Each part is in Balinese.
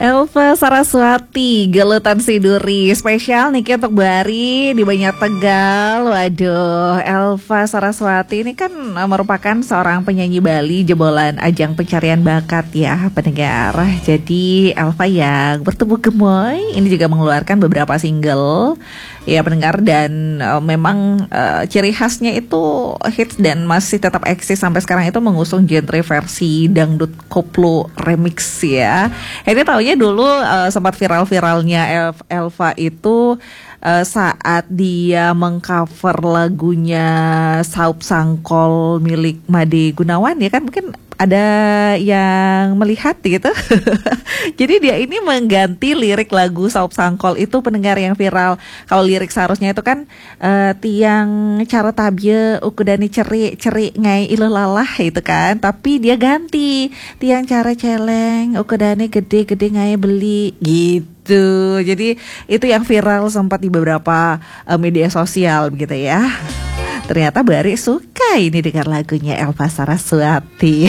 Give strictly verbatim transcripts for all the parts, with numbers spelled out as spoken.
Elva Saraswati, Gelutan Siduri. Spesial nih untuk Bari di Banjar Tegal. Waduh, Elva Saraswati ini kan merupakan seorang penyanyi Bali jebolan ajang pencarian bakat ya, pendengar. Jadi Elva yang bertubuh gemoy ini juga mengeluarkan beberapa single ya, pendengar, dan eh, memang eh, ciri khasnya itu hits dan masih tetap eksis sampai sekarang itu mengusung genre versi dangdut koplo remix ya. Ini taunya dulu eh, sempat viral-viralnya Elv- Elva itu eh, saat dia mengcover lagunya Saup Sangkol milik Made Gunawan ya kan, mungkin ada yang melihat gitu. Jadi dia ini mengganti lirik lagu Saup Sangkol itu, pendengar, yang viral. Kalau lirik seharusnya itu kan eh, tiang cara tabie ukudane cerik-cerik ngai iluh lalah itu kan, tapi dia ganti tiang cara celeng ukudane gede-gede ngai beli gitu. Jadi itu yang viral sempat di beberapa eh, media sosial begitu ya. Ternyata Bari suka ini dengan lagunya Elva Saraswati.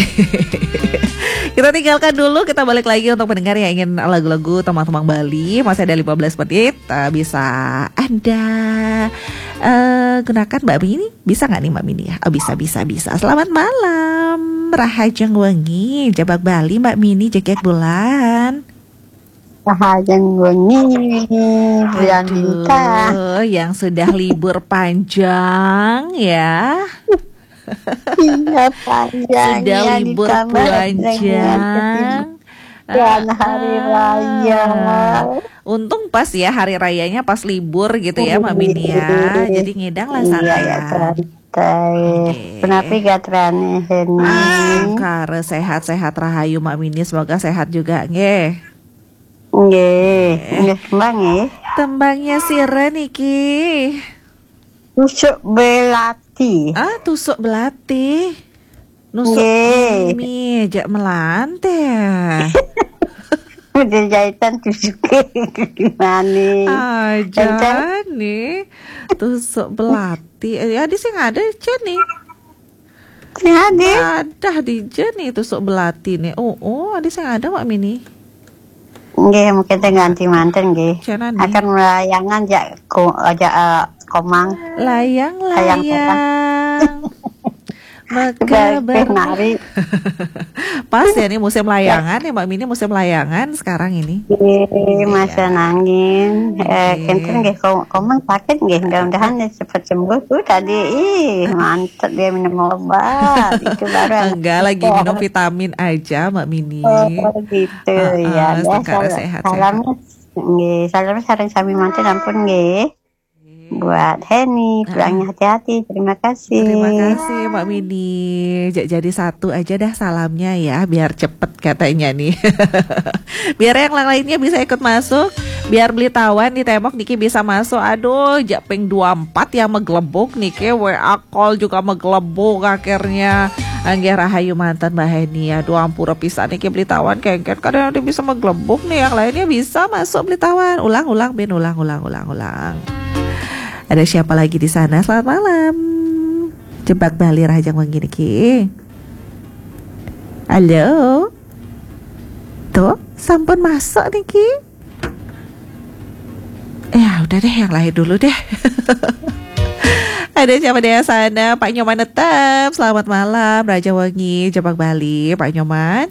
Kita tinggalkan dulu, kita balik lagi untuk pendengar yang ingin lagu-lagu tembang-tembang Bali. Masih ada lima belas menit, eh, bisa Anda eh, gunakan, Mbak Mini. Bisa nggak nih, Mbak Mini, ya? Oh, bisa, bisa, bisa. Selamat malam, Rahajeng Wengi, Jebak Bali, Mbak Mini, Jegek Bulan. Rahajeng Wengi, Bulan Bintang. Aduh, yang sudah libur panjang ya. Iya, panjang. Sudah ya, libur ditambah panjang. Dengan hari raya. Untung pas ya hari rayanya pas libur gitu ya, Mbak Mini ya. Iya. Jadi ngedang lah, iya, santai ya, ya. Santai. Oke. Kenapa gak terane ini? Ah, kare sehat-sehat rahayu, Mbak Mini, semoga sehat juga nggih. Nggih, nggih, tembang nggih. Tembangnya sira niki? Tusuk belati. Ah, tusuk belati. Nusuk nggih. Mie jak melante. Udah jahitan tusuk gimana? Aja nih. Tusuk belati. Eh, ada sih, ada aja nih. Ada. Ada di je nih tusuk belati nih. Oh, oh, ada sing ada, Mak Mini. Nggih, mungkin teh ganti manten nggih. Akan melayangan jak ko aja eh, komang. Layang, layang, layang. Maka ber nari. Pas ya nih musim layangan ya, Mak Mini, musim layangan sekarang ini. Iya, masa nangin. Eh, kenten nggih, komang sakit nggih, mudah-mudahan ya cepat sembuh tuh tadi. Ih, mantep dia minum obat. Itu baru enggak, lagi minum vitamin aja, Mbak Mini. Oh, gitu. Ya, sehat, sehat. Salamnya nggih, salamnya sareng sami manten ampun nggih. Buat Heni, pulangnya hati-hati. Terima kasih. Terima kasih, Mbak Mini. Jadi satu aja dah salamnya ya, biar cepet katanya nih. Biar yang lainnya bisa ikut masuk, biar beli tawan di tembok niki bisa masuk. Aduh, japing dua empat yang meglebuk niki, W A call juga meglebuk akhirnya. Anggih rahayu manten Mbak Heni. Aduh, ampura pisan niki beli tawan kengken kadang ada bisa meglebuk nih, yang lainnya bisa masuk beli tawan. Ulang, ulang, bin, ulang, ulang, ulang, ulang. Ada siapa lagi di sana? Selamat malam. Jebak Bali Rahajeng Wengi niki. Halo. Tuh, sampun masuk niki. Ya udah deh, yang lain dulu deh. Ada siapa di sana? Pak Nyoman tetap. Selamat malam, Rahajeng Wengi, Jebak Bali, Pak Nyoman.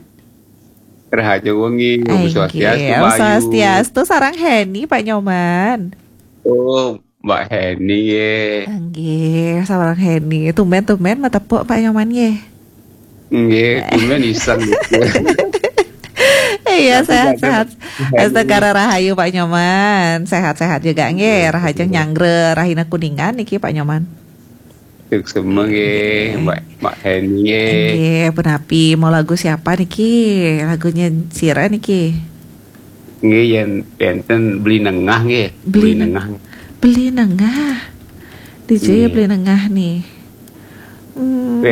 Rahajeng Wengi, Om Swastiastu, Om Swastiastu, sarang Heni, Pak Nyoman. Oh, Mbak Heni ye. Nggih, sareng Heni. Tumben-tumben matepuk Pak Nyoman ye. Nggih, tumben iseng gitu. Iya, sehat-sehat. Astagara rahayu Pak Nyoman. Sehat-sehat juga nggih. Rahajeng nyanggra rahina Kuningan niki Pak Nyoman. Suksma nggih, Mbak, Mbak Heni nggih. Nggih, punapi mau lagu siapa niki? Lagunya sira niki? Nggih, yen enten Beli Nengah nggih. Beli Nengah. Beli Nengah. D J ya Beli Nengah nih. Hmm,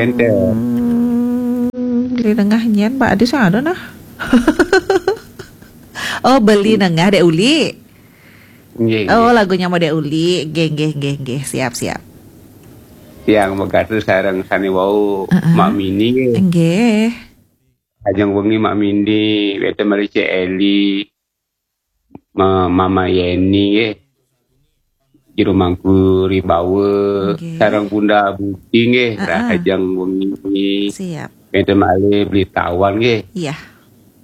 Beli Nengah nyen, Pak Adi sing ada nah. Oh, Beli Nengah Dek Uli. Nggih. Oh, lagunya mau Dek Uli. Nggih, nggih, nggih, nggih. Siap, siap. Tiang megatus sareng sane wau Mak Mini nggih. Nggih. Ajeng wengi Mak Mini, wete mari Cek Eli. Ma- Mama Yeni nggih. Jero Mangku Ribawa, sareng Bunda Budi nggih, rahajeng wengi. Siap. Wénten malih Beli Tawan nggih. Iya.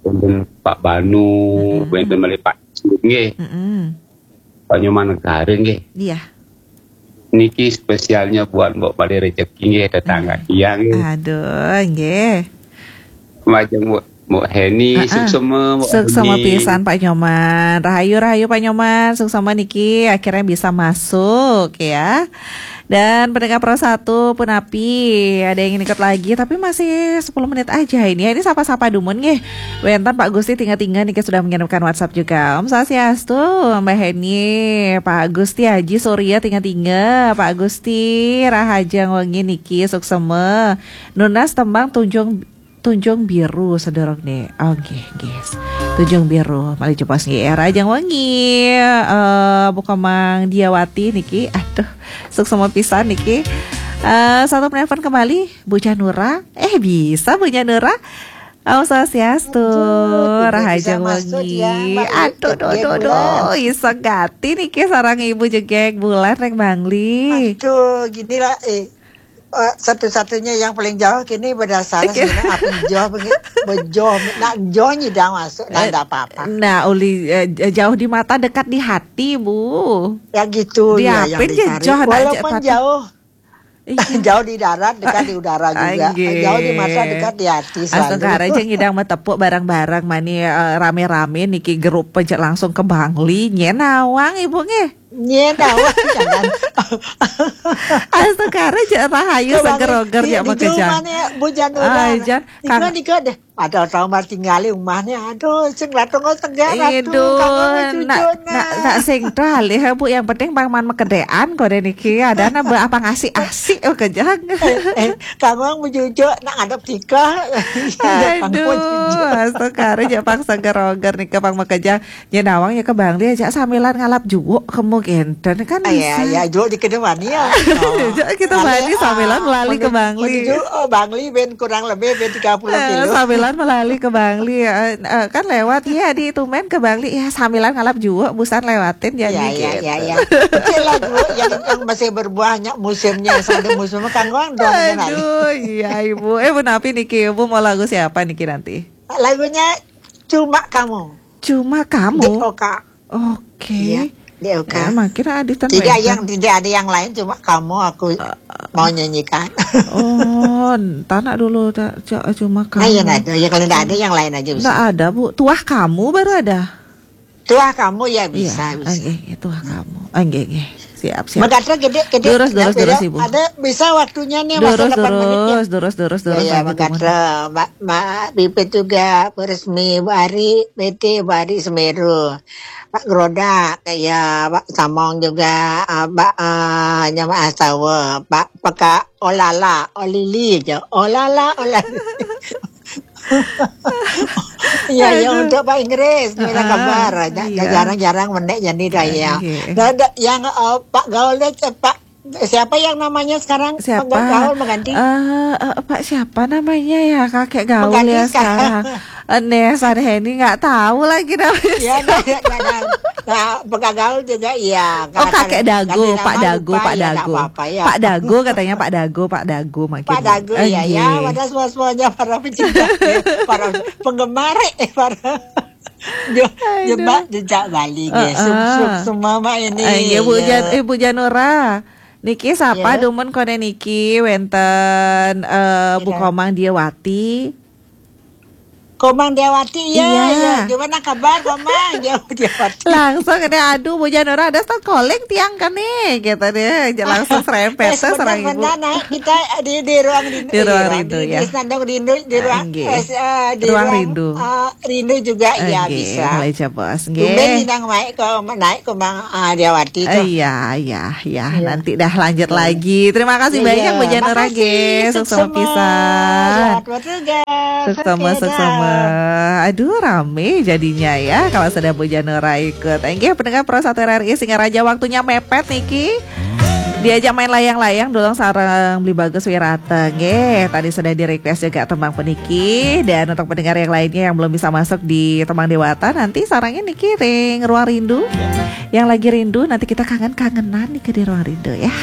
Wénten Pak Banu, wénten malih Pak Cut nggih. Mm-mm. Pak Nyoman Negara nggih. Iya. Niki spesialnya buat Mbok Bali Rezeki nggih, tetangga tiang nggih. Aduh, nggih. Majeng Mbok, Mbok Heni, suksema Mbok Heni. Suksema pisan Pak Nyoman. Rahayu, rahayu Pak Nyoman. Suksema niki akhirnya bisa masuk ya. Dan pendengar Pro satu pun api, ada yang ingin ikut lagi, tapi masih sepuluh menit aja ini ya. Ini sapa-sapa dumun nggih. Wénten Pak Gusti Tingga-Tingga niki sudah mengirimkan WhatsApp juga. Om Swastiastu, Mbak Heni, Pak Gusti Haji Surya Tingga-Tingga, Pak Gusti rahajeng wengi niki suksema. Nunas tembang Tunjung Tunjung Biru sedurung nih. Oh, nggih, nggih. Tunjung Biru, malih jebos nggih. Rahajeng wengi, eh, Bu Komang Diawati niki. Aduh, suksema pisan niki. Eh, satu penelpon kembali, Bu Janura. Eh, bisa Bu Janura. Om Swastiastu, rahajeng wengi. Aduh, duh, duh, duh, iseng gati niki sareng Ibu Jegeg Bulan rék Bangli. Aduh, gini lah, eh, eh, satu-satunya yang paling jauh kini berdasar sebenarnya apa jauh, bejo, nak jauh nyidang masuk, nah, tidak apa-apa. Nah, uli, eh, jauh di mata, dekat di hati, Bu. Ya gitu, ya, yang dicari. Walaupun jauh, jauh di darat, dekat di udara juga. Jauh di mata, dekat di hati selalu. Astungkara jeung ngidang matepuk bareng-bareng mani, eh, rame-rame niki grup pejak langsung ke Bangli. Nyén nawang Ibu nggih. Nyén nawang jangan. Astungkara jeung rahayu seger-oger ya makejang. Bu Janura. Ai jan. Nika, nika deh. Ada tahu mah tinggali umahnya. Aduh, sing ratu kok tegak ratu. Iduh, nak, nak sing tuh alih Bu, yang penting bang man mekedean kok deh niki. Ada na be apa ngasih asik oh kejang. Eh, eh, kamu yang mejujuk nak ngadep tika. Aduh, astungkara aja pang seger-oger nika pang makejang. Nyén nawang ya ke Bangli aja sambilan ngalap juuk kemu genten kan bisa. Iya, iya, juuk di kedepan ya. Juuk kita Bangli sambilan melali ke Bangli. Menuju, oh, Bangli ben kurang lebih ben tiga puluh kilo. Sambilan melali ke Bangli ya. Eh, eh, kan lewat ya di itu men ke Bangli ya sambilan ngalap juuk busan lewatin ya. Iya, iya, iya. Kecil lah juuk yang, yang masih berbuahnya musimnya sampai musimnya kan gua udah. Aduh, iya Ibu. Eh, Bu Napi niki, Ibu mau lagu siapa niki nanti? Lagunya Cuma Kamu. Cuma Kamu. D O K. Oke. Iya, D O K. Ya, makin ada. Tidak yang, tidak ada yang lain, cuma kamu aku mau nyanyikan. Oh, tanak dulu, cuma kamu. Nah, iya, nah, ya, kalau tidak ada yang lain aja bisa. Tidak ada, Bu. Tuah Kamu baru ada. Tuah Kamu ya bisa, bisa. Oke, Tuah Kamu. Oke, oke. Siap, siap. Magatra gede, gede. Durus, durus, durus, Ibu. Ada bisa waktunya nih, masa delapan menit ya. Durus, durus, durus, durus. Ya, ya, Magatra, Mbak, Mbak Pipit juga, Bu Resmi, Bu Ari, B T, Bu Ari Semeru, Pak Groda, ya, Pak Samong juga, eh, Mbak, eh, Nyama Astawa, Pak Peka, Olala, Olili aja, Olala, Olali. Iya, ya, untuk Pak Inggris, gimana kabar? Jarang-jarang menek jadi dah ya. Nah, yang, eh, Pak Gaul deh, Pak, siapa yang namanya sekarang? Siapa? Pak Gaul mengganti. Eh, eh, Pak siapa namanya ya? Kakek Gaul ya sekarang. Eh, Nesa Heni nggak tahu lagi namanya. Ya, nah, nah, nah, Pak Gaul juga iya. Oh, Kakek Dago, Pak Dago, Pak Dago. Pak Dago katanya Pak Dago, Pak Dago makin. Pak Dago ya, ya, pada semua-semuanya para pecinta, para penggemar, eh, para jebak jejak Bali nggih. Suk-suk semua mak ini. Eh, Bu Jan-, eh, Bu Janura. Niki sapa dumun kone niki wenten, eh, Bu Komang Diawati. Komang Diawati, iya, iya. Gimana kabar Komang? Jauh Diawati. Langsung ini, aduh, Bu Janura ada start calling tiang kan nih, gitu deh. Langsung serempet tuh serang Ibu. Benar, nah, kita di, di ruang rindu. Di ruang rindu, ya. Di Senandung Rindu, di ruang, eh, di ruang rindu. Eh, rindu juga, ya, bisa. Mulai jebos, nggih. Tumben Inang naik ke, naik ke Mang, ah, Diawati tuh. Iya, iya, iya. Nanti dah lanjut lagi. Terima kasih banyak Bu Janura, nggih. Sukses pisan. Selamat bertugas. Suksema, suksema. Aduh, rame jadinya ya kalau sudah Bu Janura ikut. Enggih, pendengar Pro satu R R I Singaraja, waktunya mepet niki. Diajak main layang-layang dulu sareng Beli Bagus Wirata. Nggih, tadi sudah di-request juga tembang puniki. Dan untuk pendengar yang lainnya yang belum bisa masuk di tembang dewata, nanti sarengnya niki ring Ruang Rindu. Yang lagi rindu, nanti kita kangen-kangenan nih ke di Ruang Rindu ya.